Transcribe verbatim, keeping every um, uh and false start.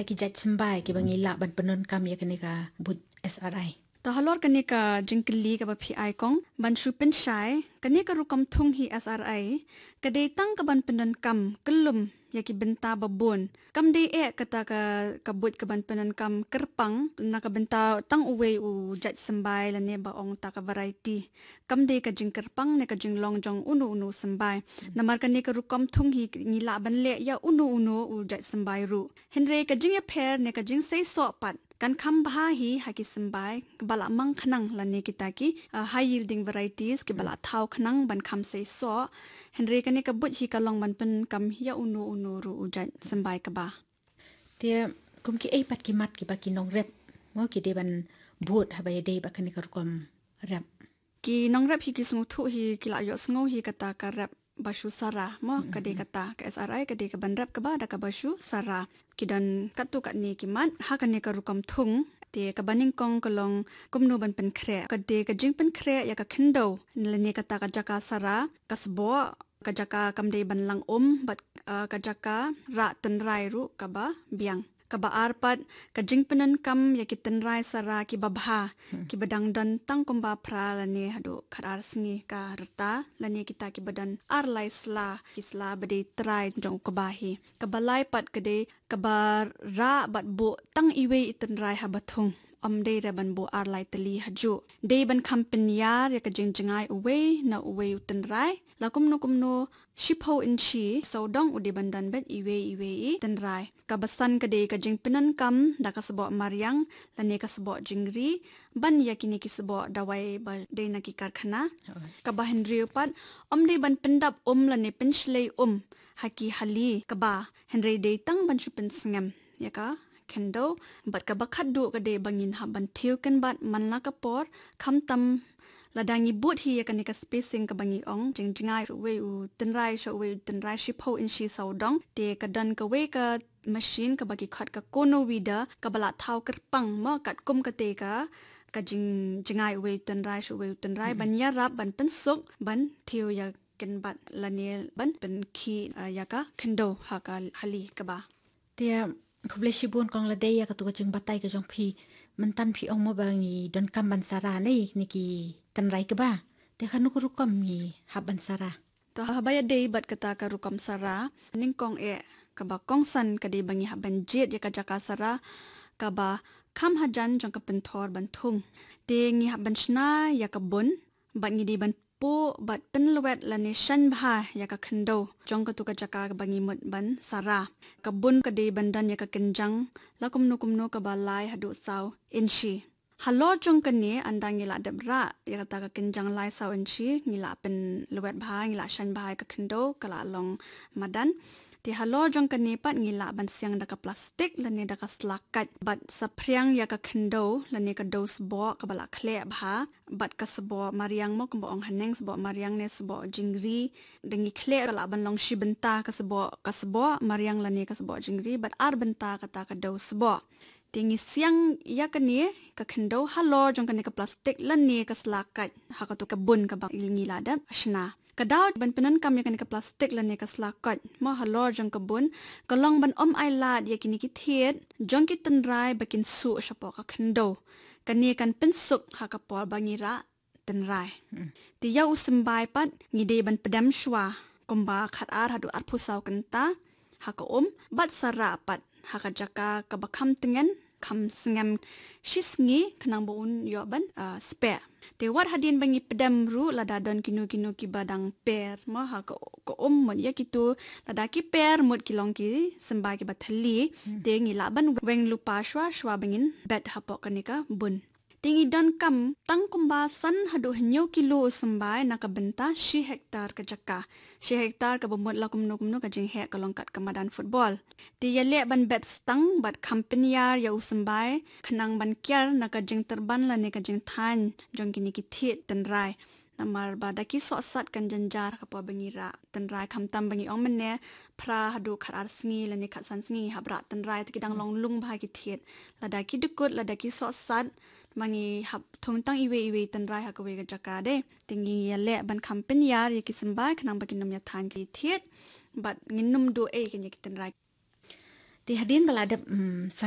ki jait symbai kiba ngi lah ban pyndonkam ïa kane ka buit S R I. To halor kane ka jingkylli kaba phi ai kong, ban shu pynshai, kane ka rukom thung hi S R I, ka dei tang ka ban pyndonkam kyllum ïa ki bynta ba bun. Kam dei eh kata ka, ka buit ka ban pyndonkam kyrpang na ka bynta tang uwei u jait symbai lane ba ong ta ka variety. Kam dei ka jingkyrpang ne ka jinglong jong uno uno u symbai. Namar kane ka rukom thung hi ngi lah ban leh ïa uno uno u jait symbai ruh. Hynrei ka jingïapher ne ka jingseisoh pat kan kham bha hi ha ki symbai kiba la mang khnang lane kita ki, ah, high yielding varieties kiba la thaw khnang ban kham seisoh. Hynrei kane ka buit hi ka long ban pyndonkam ïa uno uno ruh u jait symbai kaba. Te kum kiei pat ki mat kiba ki nongrep mo ki dei ban bud haba ïadei bad kane ka rukom rep? Ki nongrep hi ki sngewthuh hi, ki la ïohsngew hi kata ka rep ba shu sara mo, ka dei kata ka S R I ka dei ka ban rep kaba da kaba shu sara. Ki don katto katne ki mat ha kane ka rukom thung. Te kaba nyngkong ka long kumno ban pynkhreh. Ka dei ka jingpynkhreh ïa ka khyndew lane kata ka jaka sara, ka sboh, ka jaka kam dei ban lang um bad, ah, ka jaka rah tynrai ruh kaba biang. Kaba ar pat, ka jingpyndonkam ïa ki tynrai sara kiba bha, kiba dang don tang kumba phra lane haduh khatar sngi ka rta lane kita kiba don ar lai sla, ki sla ba dei trai jong u kba hi. Kaba lai pat ka dei kaba rah bad buh tang iwei i tynrai haba thung. Ym dei re ban buh ar lai tylli hajuh. Dei ban kham pynïar ïa ka jingjngai uwei na uwei u tynrai. La kumno kumno shiphew inshi sawdong u dei ban don bad iwei iwei i tynrai. Kaba san ka dei ka jingpyndonkam da ka sboh mariang lane ka sboh jingri ban ïa kine ki sboh dawai ba dei na ki karkhana. Kaba hynriew pat, ym dei ban pyndap um lane pynshlei um ha ki hali kba, hynrei dei tang ban shu pynsngem ïa ka khyndew. Bad kaba khatduh ka dei ba ngin hap ban thiew kynbat man la ka por, khamtam lada ngi bud hi ïa kane ka spacing kaba ngi ong, jingjngai sha uwei u tynrai sha uwei u tynrai shiphew inshi sawdong. Te ka don kawei ka machine kaba ki khot ka conoweeder kaba la thaw kyrpang mo katkum kata ka, ka jingjngai uwei u tynrai sha uwei u tynrai ban ïarap ban pynsuk ban thiew ïa kynbat lane ban pynkhih, ah, ïa ka khyndew ha ka hali kba. Te khublei shibun kong, la dei ïa katu ka jingbatai ka jong phi, mynta phi ong mo ba ngi donkam ban sara ne ne ki tynrai kba. Te kano ka rukom ngi hap ban sara? To haba ïadei bad kata ka rukom sara, nyngkong eh kaba kongsan ka dei ba ngi hap ban jied ïa ka jaka sara kaba kham hajan jong ka pynthor ban thung. Te ngi hap ban shna ïa ka bun bad ngi dei ban puh bad pynlwet lane shaiñ bha ïa ka khyndew jong katu ka jaka kaba ngi mut ban sara. Ka bun ka dei ban don ïa ka kynjang la kumno kumno kaba lai haduh saw inshi. Halor jong kane, ynda ngi la dep rah ïa kata ka kynjang lai saw inshi, ngi la pynlwet bha, ngi la shaiñ bha ïa ka khyndew, ka la long madan. Te halor jong kane pat ngi lah ban siang da ka plastik lane da ka sla kait bad saphriang ïa ka khyndew lane ka dew sboh kaba la khleh bha bad ka sboh mariang mo, kumba ong haneng, sboh mariang ne sboh jingri. Da ngi khleh ka lah ban long shi bynta ka sboh, ka sboh mariang lane ka sboh jingri bad ar bynta kata ka dew sboh. Te ngi siang ïa kane ka khyndew halor jong kane ka plastik lane ka sla kait ha katu ka bun kaba ngi la dep shna. Ka daw ban pyndonkam ïa kane ka plastik lane ka sla kait mo halor jong ka bun ka long ban ym ai lad ïa kine ki thied jong ki tynrai ba kin suh shapoh ka khyndew. Kane kan pynsuk ha ka por ba ngi rah tynrai. Te ïa u symbai pat ngi dei ban pdem shuwa kumba khatar haduh arphew saw kynta ha ka um bad sara pat ha ka jaka kaba kham tngen kham sngem shi sngi khnang ba un ïoh ban, ah, speh. Te wat hadien ba ngi pdem ruh, lada don kino kino kiba dang per mo ha ka, ka um, mut ïa kitu, lada ki per mut ki long ki symbai kiba thylli, te ngi lah ban weng lypa shuwa shuwa ba ngin bet hapoh kane ka bun. Te ngi donkam tang kumba san haduh hynñiew kilo u symbai na ka bynta shi hektar ka jaka. Shi hektar kaba mut la kumno kumno ka jingheh ka long kat ka madan football. Te ïaleh ban bet stang bad kham pynïar ïa u symbai khnang ban kiar na ka jingtyrban lane ka jingthaiñ jong kine ki thied tynrai. Namar ba da ki sohsat kan jynjar ha ka por ba ngi rah tynrai, khamtam ba ngi ong mynne phra haduh khatar sngi lane khatsan sngi ngi hap rah tynrai, te ki dang long lung bha ki thied. Lada ki dkut, lada ki sohsat, ma ngi hap thung tang iwei iwei tynrai ha kawei ka jaka de. Te ngi ïaleh ban kham pynïar ïa ki symbai khnang ba kin ym ïathaiñ ki thied bad ngin ym duh ei kane ki tynrai. Te hadien ba la dep, mm,